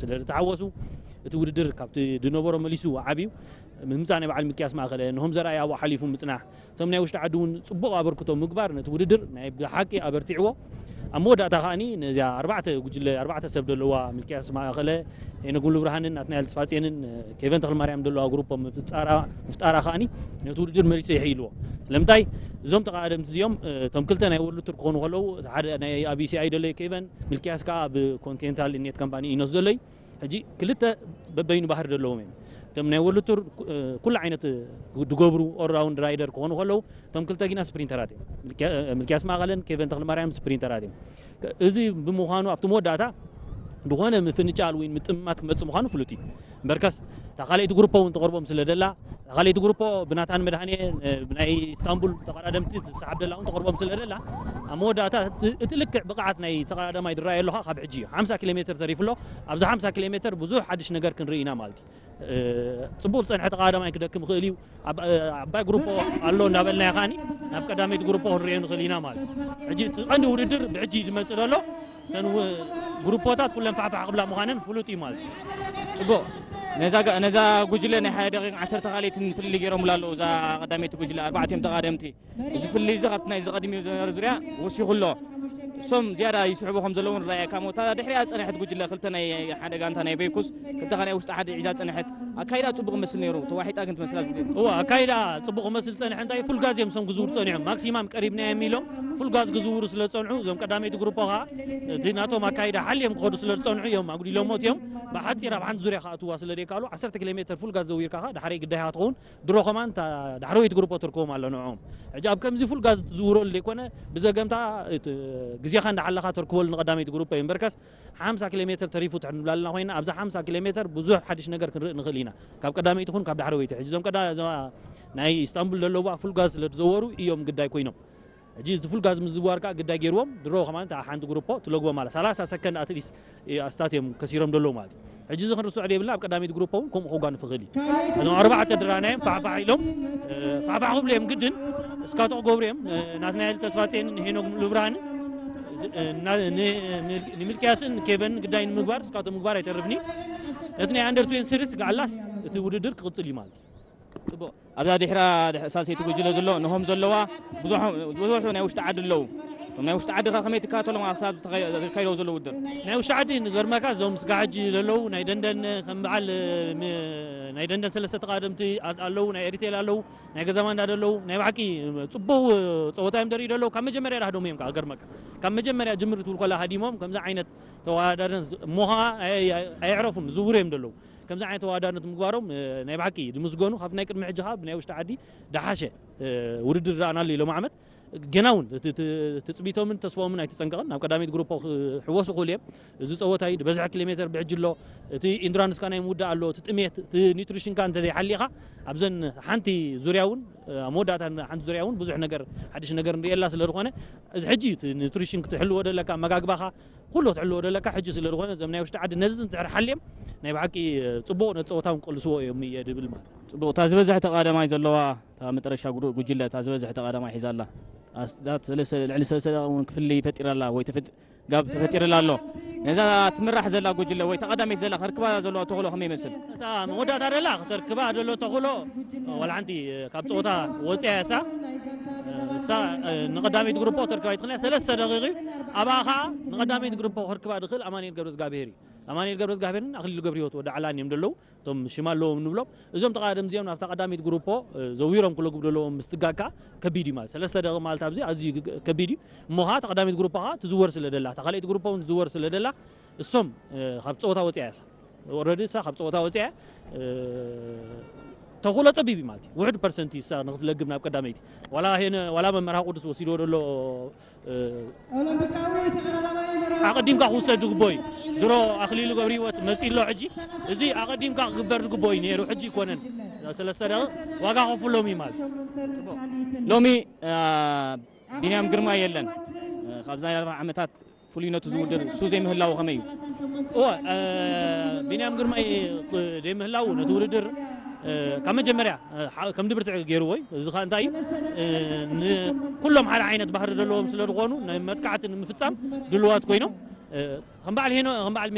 ስለ ዝተሓወሱ እቲ ውድድር ካብቲ ዝነበሮ መሊሱ ዓብዩ ምምፃእ ናይ በዓል ሚልክያስ ማእኸለ፣ ንሆም ዘርኣይ ኣብኡ ሓሊፉ ምፅናሕ፣ እቶም ናይ ውሽጢ ዓዲ እውን ፅቡቕ ኣበርክቶ ምግባር ነቲ ውድድር ናይ ብሓቂ ኣበርቲዕዎ። ኣብ መወዳእታ ከዓኒ ነዚኣ ኣርባዕተ ጉጅለ ኣርባዕተ ሰብ ዘለዋ ሚልክያስ ማእኸለ፣ ሄኖክ ሙሉብርሃንን ናትናኤል ተስፋጽዮንን ኬቨን ተኽለማርያም ዘለዋ ግሩፖ ምፍጣራ ከዓኒ ነቲ ውድድር መሊሱ ይሕይልዎ። ስለምንታይ እዞም ተቓደምቲ እዚኦም እቶም ክልተ ናይ ወርልድ ቱር ክኾኑ ከለዉ ሓደ ናይ ኣብ ዩሲኣይ ደሎ ኬቨን፣ ሚልክያስ ከዓ ኣብ ኮንቲኔንታል ኔት ካምፓኒ ኢኖስ ዘሎ እዩ። ሕጂ ክልተ በበይኑ ባህሪ ዘለዎም እዮም። እቶም ናይ ወርልድ ቱር ኩሉ ዓይነት ድገብሩ ኦልራውንድ ራይደር ክኾኑ ከለዉ፣ እቶም ክልተ ግና ስፕሪንተራት እዮም። ሚልክያስ ማእኸለን ኬቨን ተኽለማርያም ስፕሪንተራት እዮም። እዚ ብምዃኑ ኣብቲ መወዳእታ ዝኾነ ምፍንጫል ወይ ምጥምማት ክመፅእ ምዃኑ ፍሉጥ እዩ። እምበርከስ እታ ካልኣይቲ ግሩፖ እውን ትቐርቦም ስለ ደላ፣ እታ ካልኣይቲ ግሩፖ ብናታን መድሃኔ ናይ ኢስታንቡል ተቐዳደምቲ ትሰሓብ ደላ እውን ትቐርቦም ስለ ደላ፣ ኣብ መወዳእታ እቲ ልክዕ ብቕዓት ናይ ተቐዳዳማይ ዝረኣየሉ ካብ ሕጂ እዩ። ሓምሳ ኪሎ ሜትር ተሪፉ ኣሎ። ኣብዚ ሓምሳ ኪሎ ሜትር ብዙሕ ሓድሽ ነገር ክንርኢ ኢና ማለት እዩ። ፅቡቕ ዝፀንሐ ተቐዳዳማይ ክደክም ይኽእል እዩ። ዓባይ ግሩፖ ኣሎ እንዳበልና ከዓኒ ናብ ቀዳመይቲ ግሩፖ ክንሪኦ ንኽእል ኢና ማለት እዩ። ሕጂ እቲ ቀንዲ ውድድር ብሕጂ እዩ ዝመፅእ ዘሎ። እተን ግሩፖታት ኩለን ፋሕፋሕ ክብላ ምዃነን ፍሉጥ እዩ ማለት እዩ። ፅቡቕ። ነዛ ጉጅለ ናይ ሓደ ደቂቕ ዓሰርተ ካልኢትን ፍልልይ ገይሮምላ ኣለዉ። እዛ ቀዳመይቲ ጉጅለ ኣርባዕቲኦም ተቓደምቲ። እዚ ፍልልይ እዚ ካብቲ ናይ ዝቐድሚኡ ዝነበረ ዙርያ ወሲኹ ኣሎ። እሶም ዝያዳ ይስሕቡ ከም ዘለዉ ንረኣየካ እሞ እታ ድሕሪኣ ዝፀንሐት ጉጅለ ክልተ ናይ ሓደ ጋንታ ናይ በይኩስ ክልተ ናይ ውሽጢ ዓዲ ሒዛ ዝፀንሐት ኣካይዳ ፅቡቕ መስል ነይሩ። ተዋሒጣ ግን ትመስላ ዝብል እዋ ኣካይዳ ፅቡቕ መስል ፀንሐ እንታይ ፉል ጋዝ እዮም እሶም ክዝውሩ ፀኒሖም ማክሲማም ቀሪብና እዮም ኢሎም ፉል ጋዝ ክዝውሩ ስለ ዝፀንሑ እዞም ቀዳመይቲ ግሩፖ ከዓ እቲ ናቶም ኣካይዳ ሓልዮም ክኸዱ ስለ ዝፀንሑ እዮም ኣጉዲሎሞ እዮም ብሓፂር ኣብ ሓንቲ ዙርያ ከኣትዋ ስለ ዘይከኣሉ ዓሰርተ ኪሎ ሜትር ፉል ጋዝ ዘዊርካ ከዓ ዳሕረይ ግዳይካ ትኸውን ድሮ ከማን እታ ዳሕረወይቲ ግሩፖ ተርክቦም ኣሎ ንዕኦም ሕጂ ኣብ ከምዚ ፉል ጋዝ ትዝውረሉ ዘይኮነ ብዘገምታ ግዜኻ እንዳሓለኻ ተርክበሉ ንቀዳመይቲ ግሩፖ እዩ እምበርከስ ሓምሳ ኪሎ ሜትር ተሪፉ ትሕን ብላልና ኮይና ኣብዛ ሓምሳ ኪሎ ሜትር ብዙሕ ሓድሽ ነገር ክንርኢ ንኽእል ኢና ካብ ቀዳመይቲ ኹን ካብ ዳሕረወይቲ ሕጂ እዞም ቀዳ ናይ ኢስታንቡል ዘለዋ ፉል ጋዝ ስለ ዝዘወሩ እዮም ግዳይ ኮይኖም ሕጂ እቲ ፉል ጋዝ ምዝዋር ከዓ ግዳይ ገይርዎም ድሮ ከማን እታ ሓንቲ ግሩፖ ትለግቦ ማለት ሰላሳ ሰከንድ ኣትሊስት ኣስታት እዮም ከሲሮም ደለዉ ማለት እዩ ሕጂ እዚ ክንርስዖ ዘይብልና ኣብ ቀዳመይቲ ግሩፖ እውን ከምኡ ከጓንፍ ይኽእል እዩ እዞም ኣርባዕተ ድራናዮም ፋሕፋሕ ኢሎም ፋሕፋሕ ክብሉ እዮም ግድን እስካቶ ክገብሩ እዮም ናትናኤል ተስፋፅየንን ሄኖክ ሙሉብርሃንን ንሚልክያስን ኬቨን ግዳይ ንምግባር እስካቶ ምግባር ኣይተርፍኒ ነቲ ናይ ኣንደር ትዌንቲ ሲሪስ ጋዕላስ እቲ ውድድር ክቕፅል እዩ ማለት እዩ ኣብዛ ድሕራ ሳልሰይቲ ጉጅለ ዘሎ ንሆም ዘለዋ ብዙሑ ናይ ውሽጢ ዓዲ ኣለዉ እቶም ናይ ውሽጢ ዓዲ ከ ከመይ ትከታተሎም ክሳብ ዝካይደው ዘሎ ውድድር ናይ ውሽጢ ዓዲ ንገርመካ እዞም ስጋ ሕጂ ዘለዉ ናይ ደንደን ከም በዓል ናይ ደንደን ሰለስተ ተቃደምቲ ኣለዉ ናይ ኤሪቴል ኣለዉ ናይ ገዛ ማንዳ ዘለዉ ናይ ብሓቂ ፅቡቅ ፀወታ እዮም ደርኢ ዘለዉ ካብ መጀመርያ ዳህዶም እዮም ከዓ ገርመካ ካብ መጀመርያ ጅምር ትብል ኮላ ሃዲሞም ከምዚ ዓይነት ተወዳዳሪ እሞ ከዓ ኣየዕረፉን ዝውር እዮም ዘለዉ ከምዚ ዓይነት ተወዳዳርነት ምግባሮም ናይ ብሓቂ ዝምስገኑ ካብቲ ናይ ቅድሚ ሕጂ ከዓ ብናይ ውሽጢ ዓዲ ደሓሸ ውድድር ረኣናሉ እዩ ሎም ዓመት ገና እውን ትፅቢቶምን ተስፎምን ኣይተፀንቀቕን ናብ ቀዳመይቲ ግሩፖ ክሕወሱ ክኽእሉ እዮም እዚ ፀወታ እዩ ዝበዝሐ ኪሎ ሜትር ብሕጂ ኣሎ እቲ ኢንዱራንስካ ናይ ምውዳእ ኣሎ እቲ ጥሜት እቲ ኒትሪሽንካ እንተዘይሓሊኻ ኣብዘን ሓንቲ ዙርያ እውን ኣብ መወዳእታ ሓንቲ ዙርያ እውን ብዙሕ ነገር ሓድሽ ነገር ንሪኤላ ስለ ዝኾነ እዚ ሕጂ እዩ እቲ ኒትሪሽን ክትሕልዎ ደለካ ኣመጋግባኻ ኩሉ ክትሕልዎ ደለካ ሕጂ ስለ ዝኾነ እዞም ናይ ውሽጢ ዓዲ ነዚ እንድሕር ሓልዮም ናይ ብሓቂ ፅቡቕ ነቲ ፀወታ እውን ክቅልስዎ እዮም እየ ድብል ማለት ፅቡቕ እታ ዝበዝሐ ተቃደማይ ዘለዋ እታ መጠረሻ ጉጅለ እታ ዝበዝሐ ተቃደማይ ሒዛ ኣላ ልዕሊ ሰለስተ ደቂቕ እውን ክፍሊ ፈጢራ ኣላ ወይ ጋብ ተፈጢርላ ኣሎ ነዛ ትምራሕ ዘላ ጉጅለ ወይ ተቀዳሚት ዘላ ከርክባ ዘሎ ተኽእሎ ከመይ ይመስል እታ መወዳእታ ደላ ክተርክባ ዘሎ ተኽእሎ ዋላ ሓንቲ ካብ ፀወታ ወፅያ እያ እሳ እሳ ንቀዳመይቲ ግሩፖ ተርክባ ይትኽእል እያ ሰለስተ ደቂቕ እዩ ኣብኣ ከዓ ንቀዳመይቲ ግሩፖ ከርክባ ድኽእል ኣማኑኤል ገብረዝጋብሄር እዩ ኣማኑኤል ገብረዝጋብሄርን ኣክሊሉ ገብረህይወት ወዲ ዓላን እዮም ዘለዉ እቶም ሽም ኣለዎም ንብሎም እዞም ተቃደምቲ እዚኦም ናብታ ቀዳመይቲ ግሩፖ ዘዊሮም ክለግቡ ዘለዎም ምስትጋካ ከቢድ እዩ ማለት ሰለስተ ደቂ ማለት ኣብዚ ኣዝዩ ከቢድ እዩ እሞ ከዓ ተቀዳሚት ግሩፖ ከዓ ትዝወር ስለ ደላ እታ ካልኣይቲ ግሩፖ እውን ትዝወር ስለ ደላ እሶም ካብ ፀወታ ወፅያ እያ እሳ ኦረዲ እሳ ካብ ፀወታ ወፅያ ተኽእሎ ፀቢብ እዩ ማለት እዩ ውሕድ ፐርሰንት እዩ እሳ ንክትለግብ ናብ ቀዳመይቲ ዋላ ሄነ ዋላ መመርሃ ቅዱስ ወሲድዎ ደሎ ኣቐዲምካ ክውሰድ ዝግቦ እዩ ድሮ ኣክሊሉ ገብረ ህይወት መፂ ኣሎ ሕጂ እዚ ኣቐዲምካ ክግበር ዝግቦ እዩ ነይሩ ሕጂ ይኮነን ሰለስተ ደቂ ዋጋ ከፍሎም እዩ ማለት ሎሚ ቢንያም ግርማ የለን ካብዛ ኣርባ ዓመታት ፍሉይነቱ ዝውድር እሱ ዘይምህላው ከመይ እዩ እወ ቢንያም ግርማይ ዘይምህላው ነቲ ውድድር ካብ መጀመርያ ከም ድብርትዕ ገይርዎ እዩ እዚ ከዓ እንታይ እዩ ኩሎም ሓደ ዓይነት ባህሪ ዘለዎም ስለ ዝኾኑ ናይ መጥቃዕቲ ንምፍፃም ድልዋት ኮይኖም ከም በዓል ሄኖ ከም በዓል